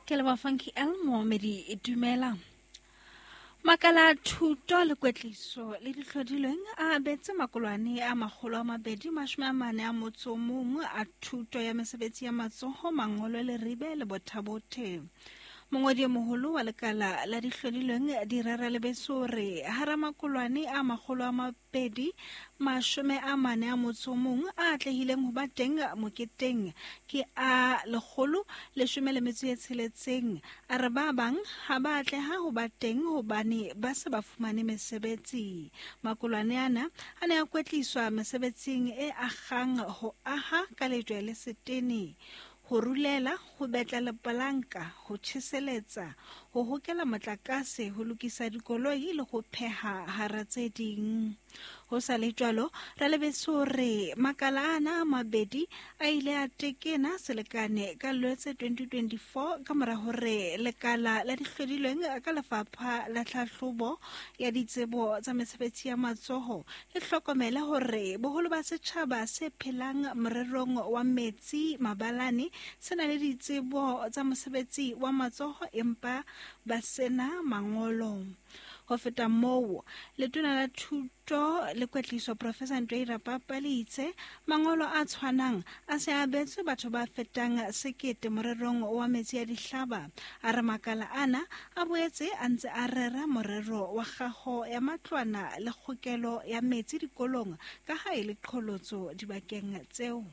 Ke leboha Funky L Moomedi dumela. Makala a thuto le kwetliso le dihlodilweng a abetse makolwane a 241 a thuto ya mesebetsi ya matsoho, mangolo, leribe le bothabothe. Mongwedi e moholo wa lekala la dihlodilweng Direra Lebeso re hara makolwane a 241 a atlehileng ho ba teng moketeng ke a 116. A re ba bang ha ba atleha ho ba teng hobane ba se ba fumane mesebetsi. Makolwane ana a ne a kwetliswa mesebetsing e akgang ho aha ka lejwe le setene, ho rulela, ho betla lepolanka, ho tjheseletsa, ho hokela motlakase, ho lokisa dikoloi le ho pheha hara tse ding. Ho sa le jwalo, Ralebeso re makala ana a mabedi a ile a tekena selekane ka Lwetse 2024 ka mora hore lekala la dihlodilweng ka lefapha la tlhahlobo ya ditsebo tsa mesebetsi ya matsoho le hlokomele hore boholo ba setjhaba se phelang morerong wa metsi mabalane se na le ditsebo tsa mosebetsi wa matsoho empa ba sena mangolo. Ho feta moo, letona la thuto le kwetliso Professor Ntoi Rapapa le itse mangolo a tshwanang a se abetswe batho ba fetang 1000 morerong wa metsi a dihlaba. A re makala ana a boetse a ntse a rera morero wa kgaho ya matlwana le kgokelo ya metsi dikolong ka ha e le qholotso dibakeng tseo.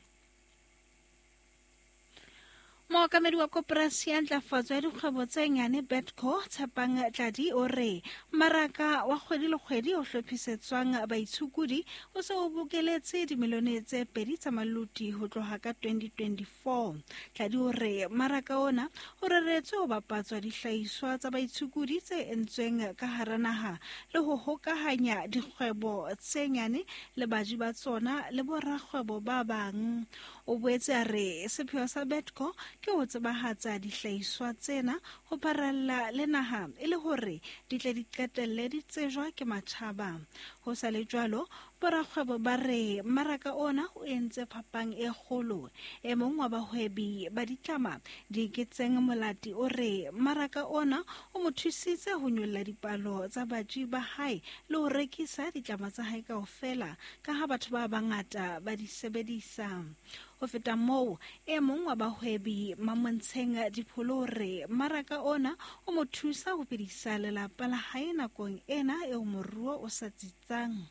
Mookamedi wa koporasi ya ntlafatso ya dikgwebo tse nyane Betco Tshepang Tladi o re mmaraka wa kgwedi le kgwedi o hlophisetswang baitshokodi o se o bokeletse dimilione tse 2 tsa maluti ho tloha ka 2024. Tladi o re mmaraka ona o reretswe ho bapatswa dihlahiswa tsa baitshokodi tse entsweng ka hara naha le ho hokahanya dikgwebo tse nyane le baji ba tsona le borakgwebo ba bang. O boetse a re sepheo sa Betco ke ho tsebahatsa dihlahiswa tsena ho pharalla le naha e le hore di tle di qetelle di tsejwa ke matjhaba. Ho sa le jwalo, borakgwebo ba re mmaraka ona o entse phapang e kgolo. E mong wa bahwebi ba ditlama Dieketseng Molati o re mmaraka ona o mo thusitse ho nyolla dipalo tsa baji ba hae le ho rekisa ditlama tsa hae kaofela ka ha batho ba bangata ba di sebedisa. Ho feta moo, e mong wa bahwebi Mamontsheng Dipholo o re mmaraka ona o mo thusa ho phedisa lelapa la hae nakong ena eo moruo o sa tsitsang.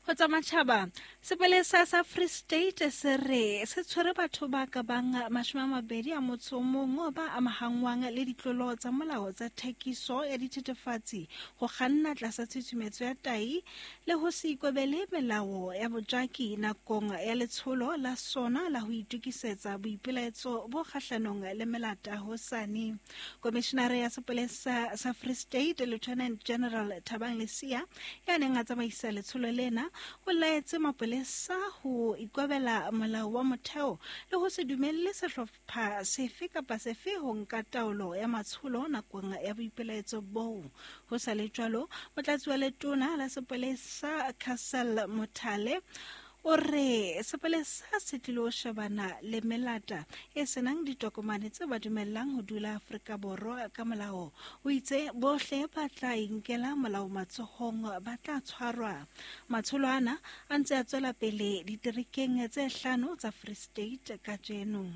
Ho tsa matjhaba, sepolesa sa Free State se re se tshwere batho ba ka bang 21 ba amahangwang le ditlolo tsa molao tsa thekiso ya dithethefatsi, ho kganna tlasa tshusumetso ya tahi le ho se ikobele melao ya bojaki nakong ya letsholo la sona la ho itokisetsa boipelaetso bo kgahlanong le melata hosane. Komishinare ya sepolesa sa Free State Lieutenant General Thabang Lesia ya neng a tsamaisa letsholo lena o laetse mapolesa ho ikobela molao wa motheo le ho se dumelle sehlopha sefe kapa sefe ho nka taolo ya matsholo nakong ya boipelaetso boo. Ho sa le jwalo, motlatsi wa letona la sepolesa Castle Mothale o re sepolesa se tlilo shebana le melata e senang ditokomane tse ba dumellang ho dula Afrika Borwa ka molao. O itse bohle ba tla inkela molao matsohong ba tla tshwarwa. Matsholo ana a ntse a tswela pele diterekeng tse 5 tsa Free State kajeno.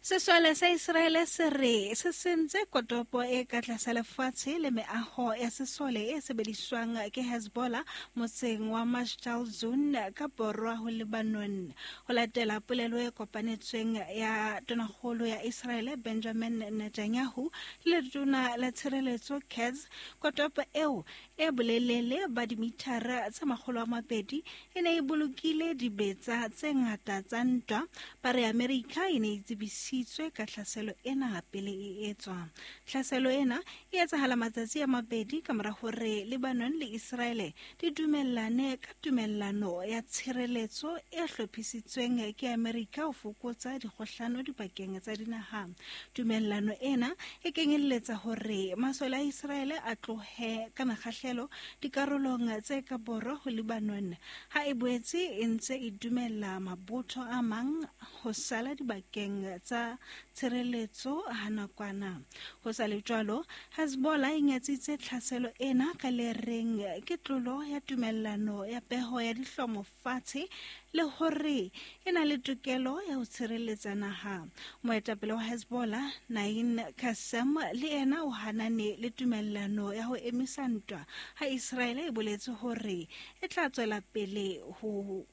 Sesole sa Iseraele se re se sentse kotopo e ka tlasa lefatshe le meaho ya sesole e sebediswang ke Hezbollah motseng wa Majdal Zun ka borwa ho Lebanon. Ho latela polelo e kopanetsweng ya tonakgolo ya Iseraele Benjamin Netanyahu le letona la tshireletso Katz, kotopo eo e bolelele ba dimithara tse 200 e ne e bolokile dibetsa tse ngata tsa ntwa. Ba re Amerika e ne e tsebisitswe ka tlhaselo ena pele e etswa. Tlhaselo ena e etsahala matsatsi a mabedi ka mora hore Lebanon le Iseraele di dumellane ka tumellano ya tshireletso e hlophisitsweng ke Amerika ho fokotsa dikgohlano dipakeng tsa dinaha. Tumellano ena e kenyelletsa hore masole a Iseraele a tlohe ka mekgahlelo mokgahlelo dikarolong tse ka borwa ho Lebanon, ha e boetse e ntse e dumella mabotho a mang ho sala dibakeng tsa tshireletso ha nakwana. Ho sa le jwalo, Hezbollah e nyatsitse tlhaselo ena ka le reng ke tlolo ya tumellano ya peho ya dihlomo fatshe le hore e na le tokelo ya ho tshireletsa naha. Moetapele wa Hezbollah, Naim Qassem, le yena o hanane le tumellano ya ho emisa ntwa ha Israele e boletse hore e tla tswela pele ho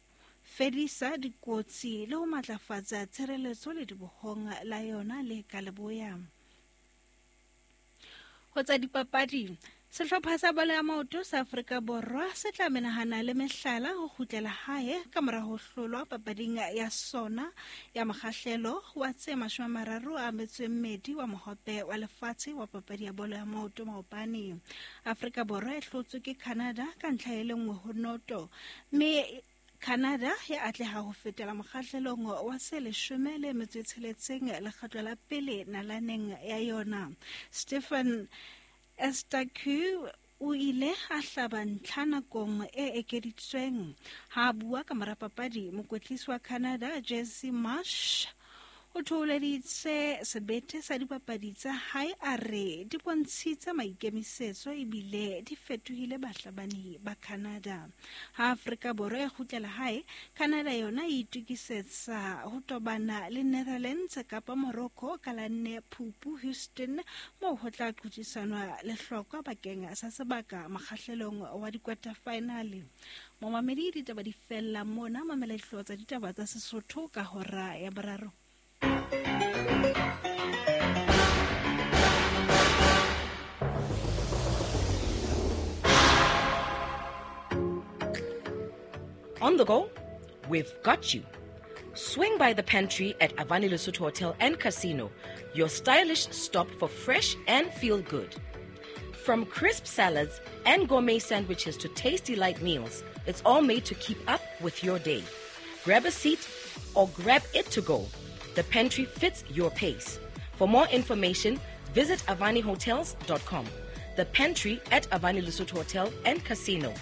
fedisa dikotsi le ho matlafatsa tshireletso ledibohong la yona le ka leboya. Ho tsa dipapadi, sehlopha sa bolo ya maoto sa Afrika Borwa se tla menahana le mehlala ho kgutlela hae ka mora ho hlolwa papading ya sona ya mokgahlelo wa tse 32 wa mohope wa lefatshe wa papadi ya bolo ya maoto maobane. Afrika Borwa e hlotswe ke Canada ka ntlha e le 1-0, mme Canada ya atleha ho fetela mokgahlelong wa se 16 lekgetlo la pele nalaneng ya yona. Stephen Estaku o ile a hlaba ntlha nakong e ekeditsweng. Ha a bua ka mora papadi, mokwetlisi wa Canada Jesse Marsh o thoholeditse sebete sa dipapadi tsa hae, a re di bontshitse maikemisetso ebile di fetohile bahlabani ba Canada. Ha Afrika Borwa e kgutlela hae, Canada yona e itokisetsa ho tobana le Netherlands kapa Morocco ka la 4 Phupu Houston, moo ho tla qothisanwa lehlokwa bakeng sa sebaka mokgahlelong wa di-quarter final. Momamedi, ditaba di fella mona. Mamela dihlooho tsa ditaba tsa Sesotho ka hora ya 3. On the go? We've got you. Swing by the pantry at Avani Lesotho Hotel and Casino, your stylish stop for fresh and feel good. From crisp salads and gourmet sandwiches to tasty light meals, it's all made to keep up with your day. Grab a seat or grab it to go. The pantry fits your pace. For more information, visit avanihotels.com. The pantry at Avani Lesotho Hotel and Casino.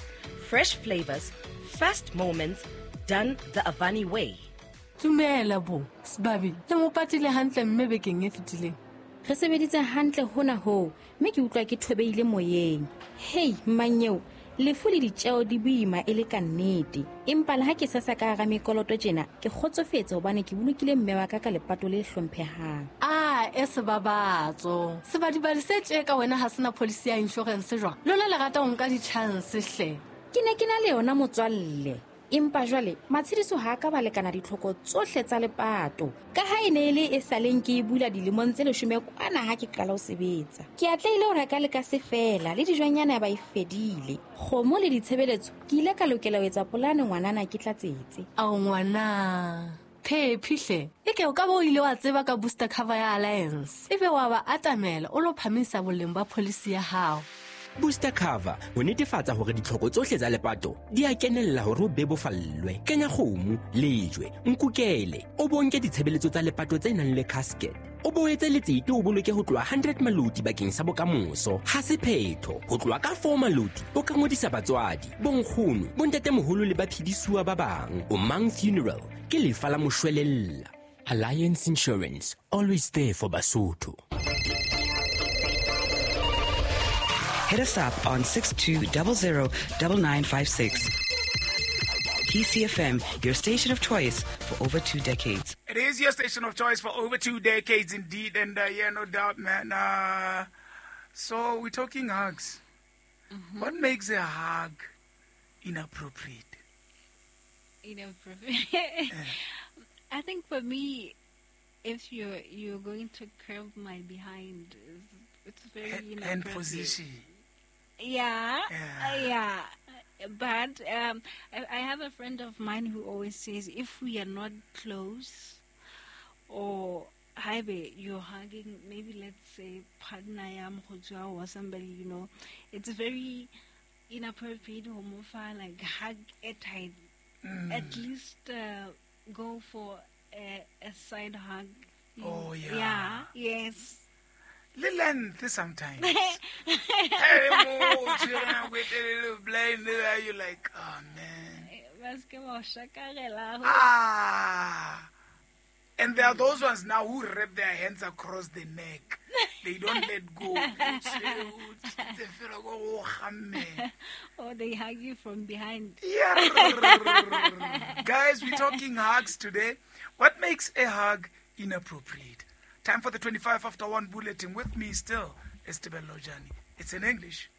Fresh flavors, fast moments, done the Avani way. Tumela bo, Sbabi, le mo patile hantle mme bekeng e fetileng. Re sebeditse hantle hona ho, mme ke utlwa ke thobeile moyeng. Hey, mmanyeo, lefu le ditjeo di boima e le ka nnete. Empa le ha ke sasa ka hara mekoloto tjena, ke kgotsofetse hobane ke bolokile mme wa ka ka lepato le hlomphehang. Ah, e sebabatso. Sebadibadi se tje ka wena ha sena policy ya insurance jwang? Lona le rata ho nka di-chance hle. Ke ne ke na le yona motswalle. Empa jwale matshediso ha ka ba lekana ditlhoko tsohle tsa lepato. Ka ha e ne e le e saleng ke e bula dilemong tse 10 kwana ha ke qala ho sebetsa. Ke atlehile ho reka le ka se fela le dijonyana ya ba e fedile. Kgomo le ditshebeletso ke ile ka lokela ho etsa polane ngwanana ke tlatsetse. Ao ngwana, phephihle. E ke o ka bo o ile wa tseba ka booster cover ya Alliance. Ebe wa ba atamela o lo phamisa boleng ba policy ya hao. Booster cover ho netefatsa hore ditlhoko tsohle tsa lepato di a kenella hore o bebofallwe. Kenya kgomo, lejwe, nkukele, o bonke ditshebeletso tsa lepato tse nang le casket. O boetse letsete o boloke ho tloha 100 maloti bakeng sa bokamoso. Ha se phetho, ho tloha ka 4 maloti o ka ngodisa batswadi, bonkgono, bontatemoholo le baphedisuwa ba bang. O Mang Funeral ke lefa la moshwelella. Alliance Insurance, always there for Basotho. Hit us up on 6200 9956. PCFM, your station of choice for over 2 decades. It is your station of choice for over 2 decades indeed. And yeah, no doubt, man. So we're talking hugs. Mm-hmm. What makes a hug inappropriate? Inappropriate? Yeah. I think for me, if you're going to curve my behind, it's very inappropriate. Hand position. Yeah, yeah. But I have a friend of mine who always says, if we are not close, or you're hugging, maybe let's say partner or somebody, you know, it's very inappropriate, homophobe, like hug it tight. Mm. At least go for a side hug. Oh, yeah. Yeah, yes. Le length sometimes. Hey, mo, o tshwere nako e telele, blind, you like, oh man. Ba se ke ba o shakarela. Ah. And there are those ones now who wrap their hands across the neck. They don't let go. Or they hug you from behind. Yeah. Guys, we're talking hugs today. What makes a hug inappropriate? Time for the 25 after 1 bulletin. With me still is Tebello Jani. It's in English.